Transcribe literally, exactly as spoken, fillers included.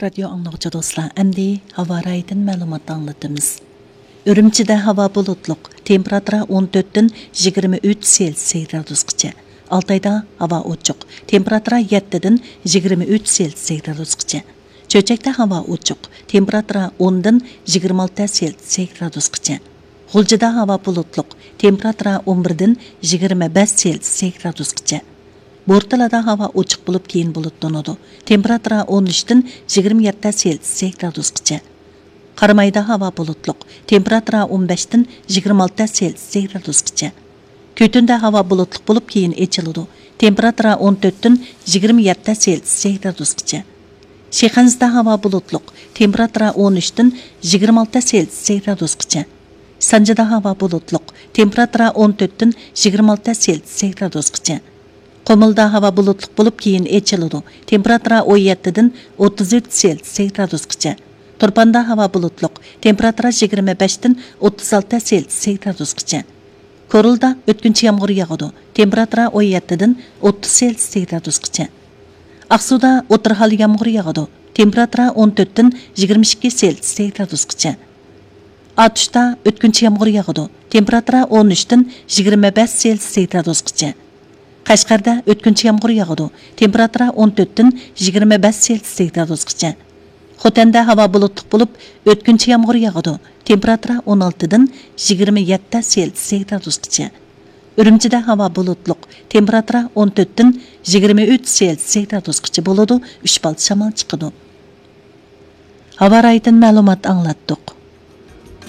رادىيو ئاڭلىغۇچى دوستلار، ئەمدى ھاۋا رايىدىن مەلۇمات ئاڭلىتىمىز. ئۈرۈمچىدە ھاۋا بۇلۇتلۇق، تېمپېراتۇرا ئون تۆتتىن يىگىرمە ئۈچ سېلسىيە گرادۇسقىچە. ئالتايدا ھاۋا ئوچۇق، تېمپېراتۇرا يەتتىدىن يىگىرمە ئۈچ سېلسىيە گرادۇسقىچە. چۆچەكتە ھاۋا ئوچۇق، تېمپېراتۇرا ئوندىن يىگىرمە ئالتە سېلسىيە گرادۇسقىچە. غۇلجىدا ھاۋا بۇلۇتلۇق، تېمپېراتۇرا ئون بىردىن يىگىرمە بەش سېلسىيە گرادۇسقىچە. بورتالادا ھاۋا ئوچۇق بولۇپ، كېيىن بۇلۇتلىنىدۇ. تېمپېراتۇرا ئون ئۈچتىن يىگىرمە يەتتە سېلسىيە گرادۇسقىچە. قارامايدا ھاۋا بۇلۇتلۇق، تېمپېراتۇرا ئون بەشتىن يىگىرمە ئالتە سېلسىيە گرادۇسقىچە. كۈتۈندە ھاۋا بۇلۇتلۇق بولۇپ، كېيىن ئېچىلىدۇ. تېمپېراتۇرا ئون تۆتتىن يىگىرمە يەتتە سېلسىيە گرادۇسقىچە. شىخەنزىدە ھاۋا بۇلۇتلۇق، تېمپېراتۇرا ئون ئۈچتىن يىگىرمە ئالتە سېلسىيە گرادۇسقىچە. سانجىدا ھاۋا بۇلۇتلۇق، تېمپېراتۇرا ئون تۆتتىن يىگىرمە ئالتە سېلسىيە گرادۇسقىچە. قۇمۇلدا ھاۋا بۇلۇتلۇق بولۇپ، كېيىن ئېچىلىدۇ. تېمپېراتۇرا ئون يەتتىدىن ئوتتۇز ئۈچ سېلسىيە گرادۇسقىچە. تۇرپاندا ھاۋا بۇلۇتلۇق، تېمپېراتۇرا يىگىرمە بەشتىن ئوتتۇز ئالتە سېلسىيە گرادۇسقىچە. كورلىدا ئۆتكۈنچى يامغۇر ياغىدۇ، تېمپېراتۇرا ئون يەتتىدىن ئوتتۇز سېلسىيە گرادۇسقىچە. ئاقسۇدا ئوتتۇرا ھال يامغۇر ياغىدۇ، تېمپېراتۇرا ئون تۆتتىن يىگىرمە ئىككى سېلسىيە گرادۇسقىچە. ئاتۇشتا ئۆتكۈنچى يامغۇر ياغىدۇ، تېمپېراتۇرا ئون ئۈچتىن يىگىرمە بەش سېلسىيە گرادۇسقىچە. قەشقەردە ئۆتكۈنچى يامغۇر ياغىدۇ، تېمپېراتۇرا ئون تۆتتىن يىگىرمە بەش سېلسىيە گرادۇسقىچە. خوتەندە ھاۋا بۇلۇتلۇق بولۇپ، ئۆتكۈنچى يامغۇر ياغىدۇ، تېمپېراتۇرا ئون ئالتىدىن يىگىرمە يەتتە سېلسىيە گرادۇسقىچە. ئۈرۈمچىدە ھاۋا بۇلۇتلۇق، تېمپېراتۇرا ئون تۆتتىن يىگىرمە ئۈچ سېلسىيە گرادۇسقىچە بولىدۇ، ئۈچ بال شامال چىقىدۇ. ھاۋا رايىدىن مەلۇمات ئاڭلاتتۇق.